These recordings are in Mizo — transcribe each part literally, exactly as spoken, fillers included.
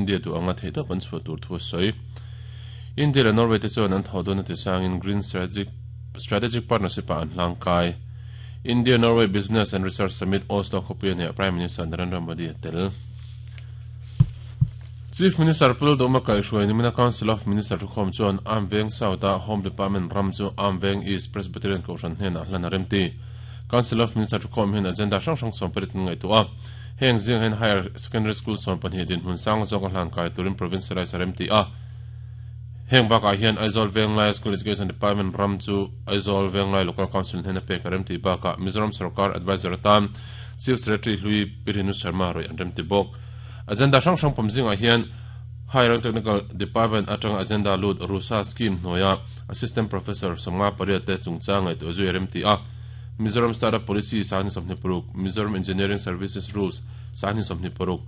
India du anga theita pan chu tur thu soi India le Norway te chuan an thodon ti sangin Green Strategic Strategic Partnership an hlangkai India Norway Business and Research Summit Oslo khopian he Prime Minister Narendra Modi tel Chief Minister Pul Doma Kai Shuai nimina Council of Minister Rukhom chuan Amveng South a Home Department ram chu Amveng East Presbyterian Kohhran hnena hlan remti Council of Minister Rukhom hin agenda hrang hrang som parit ngai tu a heng zing hen Higher Secondary School som pahnih din hun sang zawk hlan kai turin provincialize remti a heng baka hian Aizawl Venglai School Education Department ram chu Aizawl Venglai Local Council hnena pek remti baka Mizoram Sarkar Advisor atan Chief Secretary Hlui Pirinu Sharma roi an remti bok agenda hrang hrang pamzinga hian Higher Technical Department atang agenda lut Rusa scheme noya Assistant Professor Somnga pariat te chungcha ngai to zui remti a Mizoram Startup Policy sani somni paruk Mizoram Engineering Services Rules sani somni paruk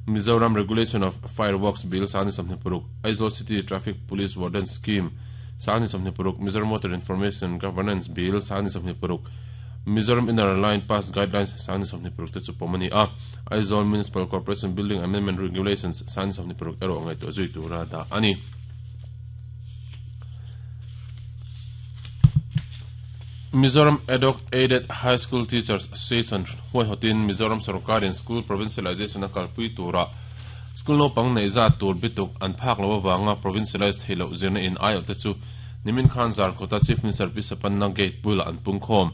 Mizoram Regulation of Fireworks Bill sani somni paruk Aizawl City Traffic Police Warden Scheme sani somni paruk Mizoram Water Information Governance Bill sani somni paruk Mizoram Inner Line Pass Guidelines sani somni paruk te chu pomani a Aizawl Municipal Corporation Building Amendment Regulations sani somni paruk ero ngai to zui tura da ani Mizoram Ad Hoc Aided High School Teachers Association huai hotin Mizoram Sarkarin School Provincialization a kalpui tura school no pang nei za tur bituk an phak lo wanga provincialized helo zirna in ayo te chu nimin khan zar kota Chief Minister Pisapanna Gate bula an pungkhom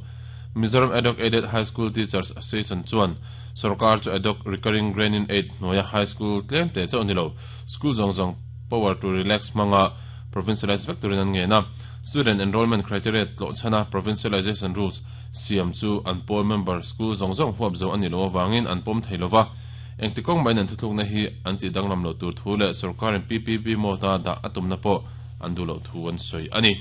Mizoram Ad Hoc Aided High School Teachers Association chuan Sarkar chu ad hoc recurring grant in aid noya high school tlem te chu anilo school zong zong power to relax manga provincialized vectorin an nge na student enrollment criteria tlo chana provincialization rules siam chu an pawl member school zong zong huap zo ani lo wangin an pom theilova engtikong mai nan thutluk na hi anti danglam lo tur thu le sarkarin P P P mota da atum na po an du lo thu an soi ani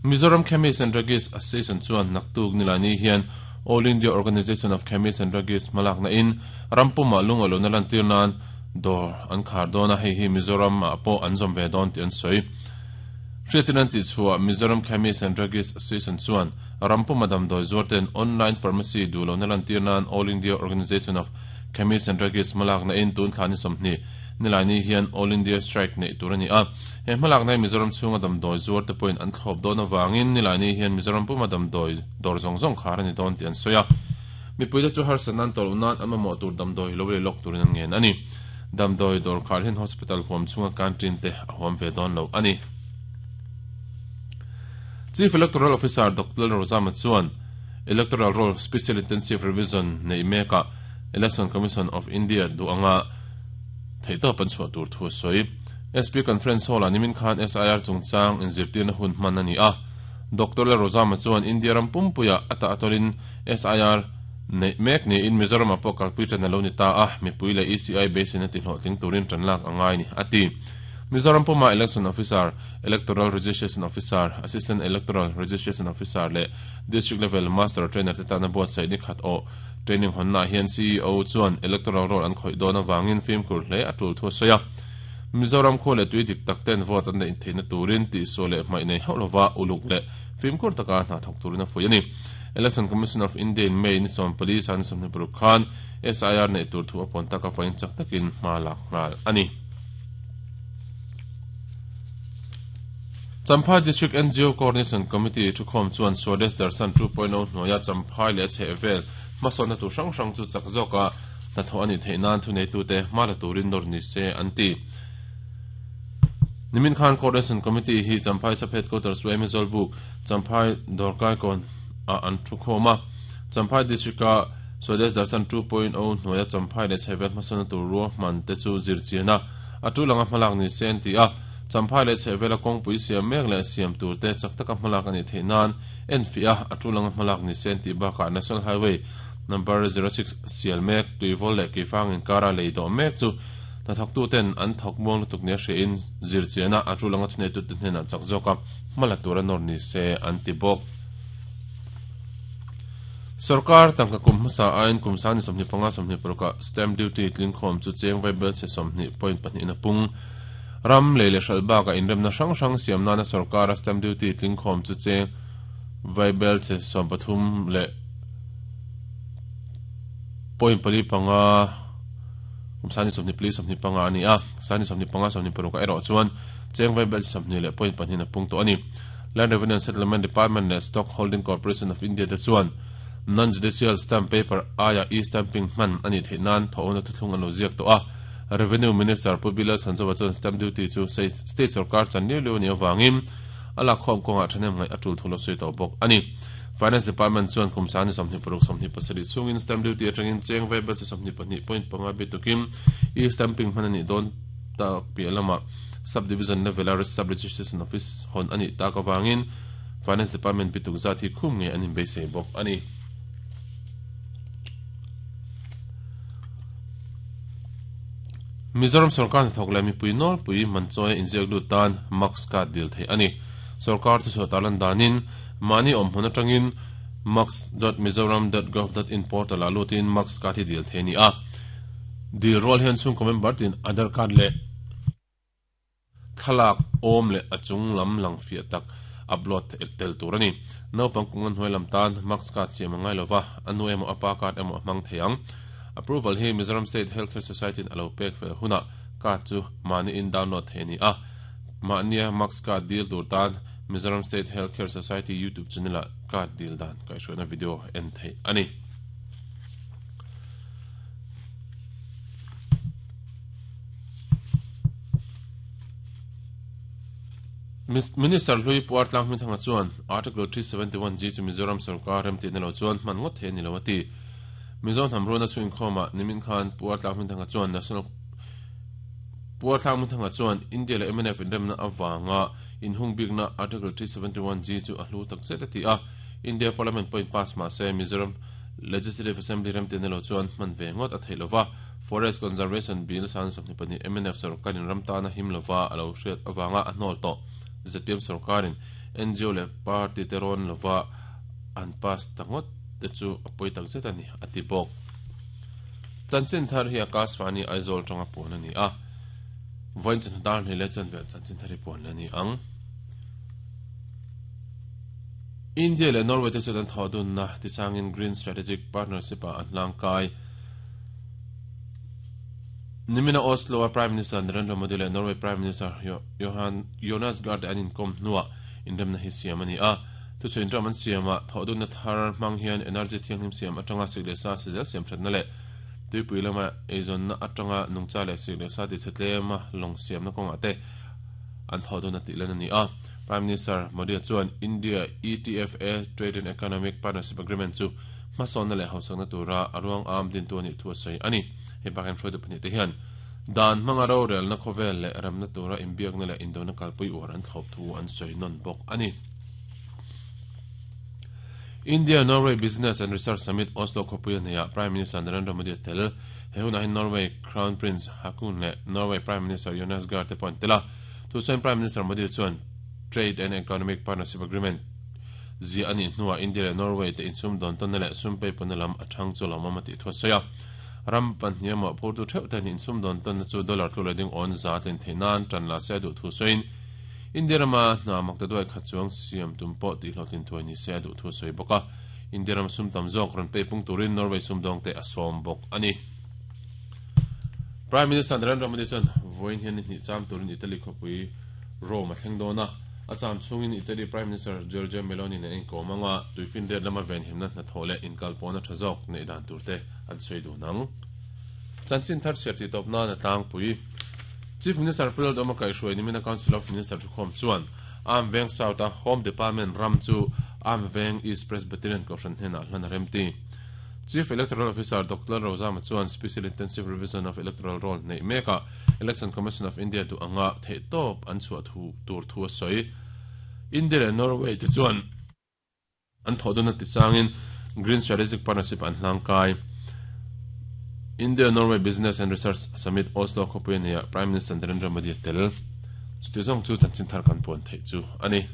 Mizoram Chemists and Druggists Association chuan naktuk nilani hian All India Organization of Chemists and Druggists malak na in rampuma lungolo na lantir nan dor an khar dona hei hi Mizoram a po an zom ve don ti an soi Hriatinan ti chua Mizoram Chemists and Druggists Association chuan rampuma damdoi zuarten online pharmacy dulo na lantir nan All India Organization of Chemists and Druggists malak na in tun thlani somni nilani hian All India Strike nei turani a he malak na Mizoram chunga damdoi zuar te point an thlop don awangin nilani hian Mizoram puma damdoi dor zong zong kharani don ti an soya mipuite chu har sanan tol unan ama mo tur damdoi lo le lok turin an ngen ani damdoi dor khar hin hospital huam chunga canteen te a huam ve don lo ani Chief Electoral Officer Doctor Rozama chuan Electoral Roll Special Intensive Revision nei meka Election Commission of India du anga theito pan chu tur thu soi S P Conference Hall animin khan S I R chungchang inzirtir na hun hman ani a Doctor Rozama chuan India ram pumpuya ata atolin S I R nei mek ni in Mizoram apo kalpui tan lo ni ta a mipui le E C I base na ti hlotling turin tan lak angai ni ati Mizoram Puma Election Officer, Electoral Registration Officer, Assistant Electoral Registration Officer le District Level Master Trainer te tana buat sai ni khat o training honna hian C E O chuan Electoral Roll an khoi don awangin film kur hle atul thu soya Mizoram khole tui dik tak ten vote an nei theina turin ti so le mai nei haulova uluk le film kur taka na thok turina foi ani Election Commission of India in May ni som police an som ni Khan S I R nei tur thu apon taka fain chak takin malak ngal ani Champhai District N G O Coordination Committee thukhom chuan Swadesh Darshan two point oh hnuaia Champhai leh chhehvel hmasawnna tur hrang hrang chu chak zawka hnathawh ani theih nan thu nei tute hmala turin nawr ni se an ti Nimin Khan Coordination Committee hi Champhai Sub Headquarters Wemizol Book Champhai Dorkai kon a an thukhawm a Champhai District a Swadesh Darshan two point oh hnuaia Champhai leh chhehvel hmasawnna tur ruahman te chu zirchiana a tu langa hmalak ni se an ti a Champhai le chhevela kawngpui siam mek leh siam tur te chak taka hmalak ani theih nan en fia a tulanga hmalak ni sen ti bakah National Highway number zero six sial mek tuivol leh keifang in kara lei dawh mek chu hnathawk tu ten an thawk muang lutuk nia hre in zirchiana a tulanga thunei tu te hnenah chak zawka hmala tura nawr ni se an ti bawk Sarkar tangka kum hmasa ain kum sani sawmhnih panga sawmhnih parukah stamp duty tlingkhawm chu cheng vaibel che sawmhnih point pahnih na pung ram le le hral ka inremna hrang hrang siam nana sarkar a stamp duty tlingkhawm chu cheng vaibel che sawm pathum le point pali panga Kumsani somni pli somni panga ani a sani somni panga somni paruka ero chuan chengwai bel somni le point panin pung to ani Land Revenue and Settlement Department le Stock Holding Corporation of India te chuan non judicial stamp paper aya e stamping man ani theinan thona thuthlung anu ziak to a Revenue Minister Pubila Sanjawa chuan stamp duty chu state sarkar chan ni lo ni awangin ala khom konga thanem ngai atul thulo sui to bok ani Finance Department chuan kumsani somni paruk somni pasari chungin stamp duty atangin chengwai bel somni pahnih point panga bitukim e stamping man ani don ta pialama subdivision level sub registration office hon ani ta ka wangin Finance Department bituk zati khum nge anin be sei bok ani Mizoram sarkar thok le mi pui nol pui manchoi injek lu tan max ka dil thei ani sarkar chu sotalan danin mani om hona tangin max dot mizoram dot gov dot in portal alutin max ka thi dil thei ni a dil rol hian chung comment bartin Aadhaar card le thalak om le achung lam lang fia tak upload tel turani no pangkungan hoilam tan max card siam ngai lova anu emo apa card emo mang theiang approval hi Mizoram State Healthcare Society alo pek fel huna card chu mani in download theni a mania max card deal tur tan Mizoram State Healthcare Society YouTube channel card deal dan kai shona video en thei ani Minister Louis Puartlang mi thanga chuan Article three seventy-one G chu Mizoram sarkar rem ti nelo chuan man ngot the ni lawati Mizo hamrona chu inkhoma nimin khan Puartlang mi thanga chuan National Puartlang mi thanga chuan India le M N F indemna awanga in hung bigna Article three seventy-one G chu ahlu tak zet ti a India Parliament point pass ma se Mizoram Legislative Assembly rem ti nelo chuan man ve ngot a theilova Forest Conservation Bill san samni pani M N F sarkar in ramtana himlova alo hriat awanga a hnol to Z P M sarkarin N G O le party teron lova an pass tangot te chu apoi tak zet ani ati bok chanchin thar hi Akashvani Aizawl tanga pon ani a voin chan dar ni le chan vel chanchin thari pon ani ang India le Norway te chuan thodun na tisangin Green Strategic Partnership a an langkai Nimina Oslo Prime Minister Narendra Modi le Norway Prime Minister Johan Jonas Gahr anin kom nuwa indemna hi siamani a tu chuin raman siama thodun na thar mang hian energy thianghlim siam atanga sikle sa sejel siam thatna le tuipui lama eizon na atanga nungcha le sikle sa ti chetlema long siam na konga te an thodun na ti lan ani a Prime Minister Modi chuan India E T F A Trade and Economic Partnership Agreement chu hmasawn le hausakna tura aruang am din tu ani thu sei ani he bakan throid pani te hian dan mangaro rel na khovel le ramna tura imbiak na le indona kalpui war an thop thu an sei non bok ani India Norway Business and Research Summit Oslo khopui ania Prime Minister Narendra Modi tel he hun Norway Crown Prince Haakon le Norway Prime Minister Jonas Gahr te pon tela thu sain Prime Minister Modi chuan Trade and Economic Partnership Agreement zi ani hnuwa India le Norway te insum don ton le sumpe ponalam athang chu lama ti thosaya ram pan hiama phurtu theu ten insum don ton chu dollar tlu leding on za ten thenan tran la se du thu soin India rama na makta doi khachuang siam tum po ti hlotin thoi ni se du thu soi boka India ram sum tam jok ron pe pung turin Norway sum dong te asom bok ani Prime Minister Narendra Modi chan voin hian ni cham turin Italy khopui Rome a thleng dona acham chungin Italy Prime Minister Giorgia Meloni ne in komanga tuifin der lama ven himna na thole in kalpona thazok ne dan turte an soi du nang chanchin thar serti topna na tlang pui Chief Minister Pulal Doma kai shuai nimina Council of Minister thukhom chuan Am Veng South a Home Department ram chu Am Veng East Presbyterian Kohhran hena hlan remti Chief Electoral Officer Doctor Rosa Chuan Special Intensive Revision of Electoral Roll nei meka Election Commission of India du anga thei top an chua thu tur thu soi India le Norway te chuan an thoduna ti changin Green Strategic Partnership an hlangkai India Norway Business and Research Summit Oslo khopui ania Prime Minister Narendra Modi tel chu ti zong chu chanchin thar kan pon thei chu ani.